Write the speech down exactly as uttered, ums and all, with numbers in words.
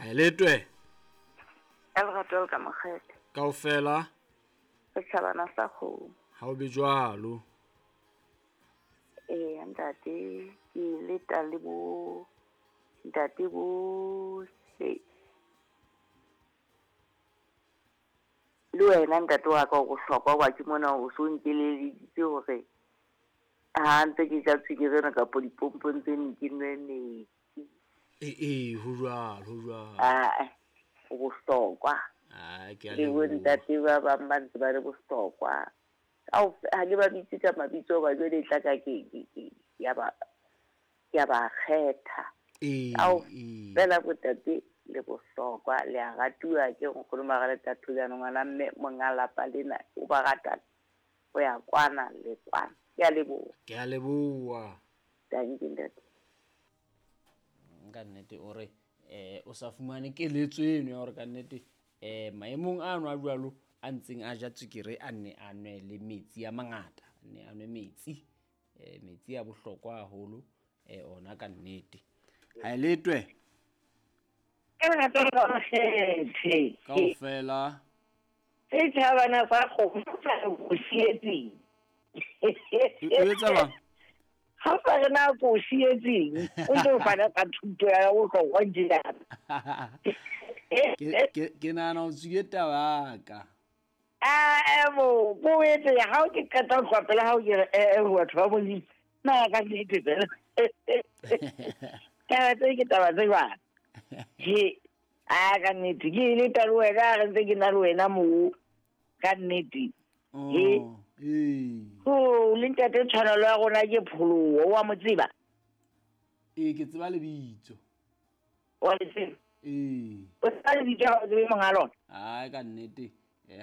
Ha letwe. Ka lerato le ka mokgethe. Kaofela. Setjhabana sa kgomo. Ha o be jwalo. Eh ntate ke leta le bo ntate bo se le wena ntate wa ka o bohlokwa wa ke mona o so nkeleleditse hore ha ntse ke ja tswekere ena kapa dipompong tse ne ke nwe metsi. Eh eh ho jwalo ho jwalo. Ah o bohlokwa. Ah ke a le bo ntate ba bang ba ntse ba le bohlokwa. Au ha ke ba bitse ka mabitso ba jwale tla ka ke ke ya ba ya ba kgetha. Eh au fela botate le bohlokwa le a ratuwa ke nkgono mara le tatho ngwana mme monga lapa lena o ba rata o ya kwana le kwana. Ke a leboha. Ke a leboha. Thank you ntate. Ka nnete o re eh o sa fumane keletso eno ya hore ka nnete eh maemong ano a jwalo a ntseng a ja tswekere a nne a nwe le metsi a mangata, a nne a nwe metsi eh metsi a bohlokwa haholo eh ona ka nnete. Ha letwe. Ka lerato le ka mokgethe. Kaofela. Setjhabana sa kgomo sa o sietseng. O etsa bang? Ha o sa re na ko sietseng, o ntse o fana ka thuto ya bohlokwa tjena. Ke ke ke nahana o tswile taba ka. Ah bo, bo etse ha o ke qeta ho tloha pela hao ke re eh batho ba Modimo. Na ka nnete fela. Taba tse ke taba tse jwang? He, a ka nnete ke ile ta le wena re ntse ke na le wena moo ka nnete. He. Eh. Ho le ntate tshwanelo ya rona ke pholoho wa mo tseba? Eh ke tseba lebitso. Wa le tseba? Eh. O tseba lebitso ha o tsebe monga lona? Ai ka nnete.